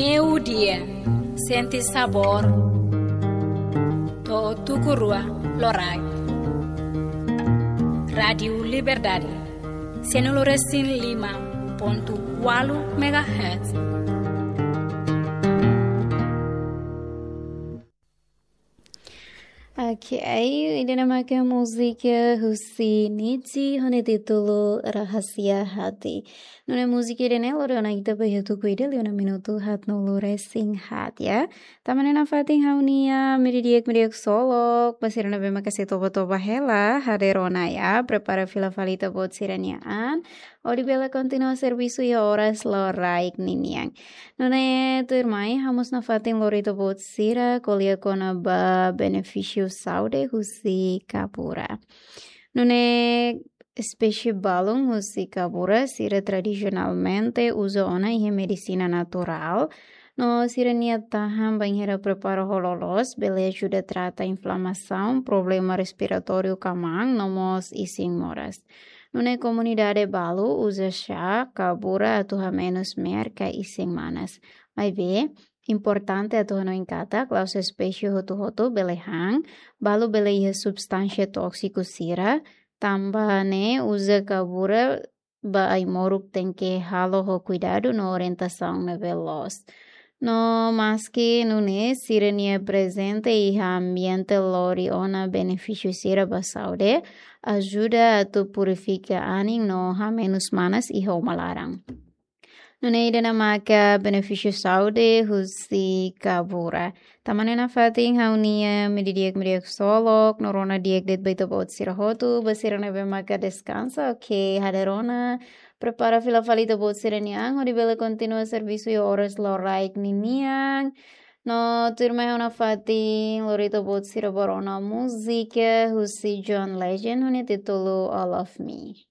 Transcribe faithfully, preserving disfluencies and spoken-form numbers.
Meiudia, sente sabór. To'o tuku rua loraik. Rádiu Liberdade, sianulu resin lima pontu ualu megahertz. Ok, ida-ne'e maka múzika husi Nidji ho nia títulu Rahasia Hati. Nune'e múzika ida-ne'e lori ona ita ba iha tuku ida liu ona minutu haatnulu resin haat, ya. Tanba ne'e nafatin ha'u-nia meiudia di'ak, meiudia ksolok, ba sira ne'ebé maka sei toba-toba hela, hadeer ona, ya, prepara fila fali ita-boot sira-nia an, hodi bele kontinua servisu iha oras loraik ninian. Nune'e tuirmai, ha'u mós nafatin lori ita-boot sira ko'alia kona-ba benefísiu saúde husi kabura. Nune'e espésie balun husi kabura sira tradisionalmente uza ona iha medisina naturál, no sira-nia tahan bainhira prepara ho loloos, bele ajuda trata inflamasaun, problema respiratóriu ka maan, no mós isin moras. Nune'e komunidade balu uza xá kabura atu hamenus me'ar ka isin manas. Maibé, importante atu hanoin katak, la'ós espésie hotu-hotu bele han, balu bele iha substánsia tóksiku sira, tanba ne'e uza kabura ba ai-moruk tenke halo ho kuidadu no orientasaun ne'ebé loos. No maski nune'e, sira-nia prezente iha ambiente lori ona benefísiu sira ba saúde, ajuda atu purifika anin no hamenus manas iha uma laran. Nune'e ida-ne'e maka benefísiu saúde husi kabura. Tanba ne'e nafatin ha'u-nia meiudia di'ak, meiudia ksolok, no rona di'ak de'it ba ita-boot sira hotu, ba sira ne'ebé maka deskansa, ok, hadeer ona, prepara fila fali ita-boot sira-nia an, hodi bele kontinua servisu iha oras loraik ninian. No tuirmai ha'u nafatin lori ita-boot sira ba rona múzika husi John Legend, ho nia títulu All of Me.